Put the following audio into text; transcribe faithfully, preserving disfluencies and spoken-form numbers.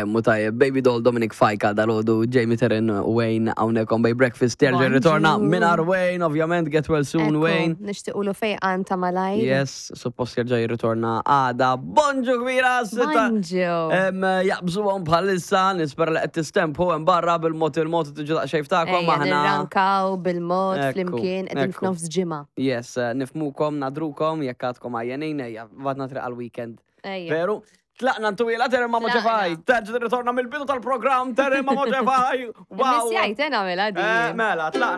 Kemmu tajjeb, Baby Doll Dominic Fajka dal-għodu, Jamie Terren Wayne hawnhekk on Bay Breakfast, terġa' Bonġu. ritorna mingħajr Wayne, ovvjament, get well soon Ekku, Wayne. Nixtiequlu fejqan ta' malajr. Yes, suppost jerġa' jirritorna għada. Bonġu kbira, sitta. Bonġu. Em, Jaqbżuhom bħalissa, nispera li qed tistempu hemm barra bil-mod il-mod tiġu daqsxejn ftakom Ejja, aħna. nirrankaw bil-mod Ekku, flimkien qegħdin ekku. f'nofs ġimgħa. Yes, eh, nifhmukom, nagħdrukom, jekk għadkom għajjenin, ejja, għadna triq għal-weekend. Ejja. Veru? Tlaqna ntwila, Terem ma Tlaqna. Moġefaj. Terġa' tirritorna mill-bidu tal-programm, Terem ma Moġefaj. Wow. Missjajt, eh, nagħmilha Eh, di. Mela, tlaqna.